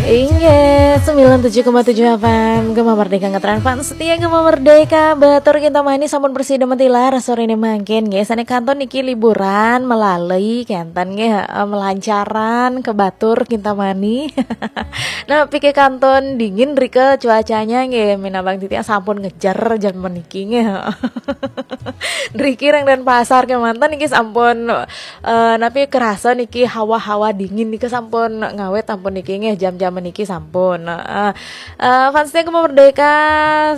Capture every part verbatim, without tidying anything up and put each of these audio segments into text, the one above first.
Inggih, sembilan tujuh koma tujuh F M Gema Merdeka, ngetren fans setia Gema Merdeka. Batur Kintamani sampun prasida matilar sore ini mangkin nggih. Sane kanton niki liburan melalui kenten nggih, eh, melancaran ke Batur Kintamani. Nah, pikir kanton dingin rike cuacanya nggih, minabang titiang sampun ngejer jam meniki nggih. Riki reng Denpasar kemanten niki sampun, eh, napi kerasa niki hawa-hawa dingin niki sampun ngawet ampun niki nggih, jam-jam niki sampun. Heeh. Eh, fans setia Gema Merdeka,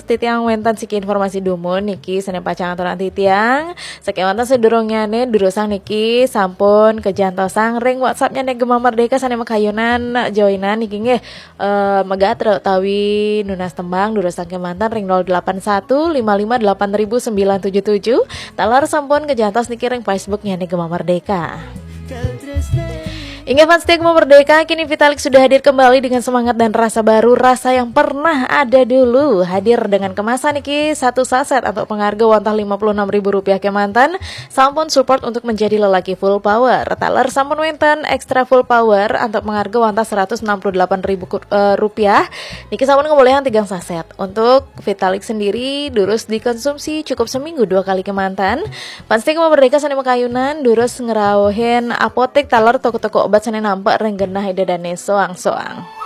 titiang wenten siki informasi dumun niki sane pacang aturan titiang. Sakemanten sedurungyane durusang niki sampun kejantosang ring WhatsApp-nya nih Gema Merdeka sane makayunan joinan niki nggih. Eh, megat utawi nunas tembang durusang kemanten ring nol delapan satu lima lima delapan ribu sembilan tujuh tujuh. Taler sampun kejantos niki ring Facebook-nya nih Gema Merdeka. Inggih fans setia Gema Merdeka, kini Vitalik sudah hadir kembali dengan semangat dan rasa baru, rasa yang pernah ada dulu. Hadir dengan kemasan niki satu saset untuk pengarga wantah lima puluh enam ribu rupiah kemanten, sampun support untuk menjadi lelaki full power. Taler sampun wenten extra full power untuk pengarga wantah seratus enam puluh delapan ribu ku- eh, rupiah. Niki sampun ngebolehan tigang saset. Untuk Vitalik sendiri durus dikonsumsi cukup seminggu dua kali kemanten. Fans setia Gema Merdeka sane makayunan durus ngrauhin apotek taler toko-toko obat sane nampak ring genah ida dane soang-soang.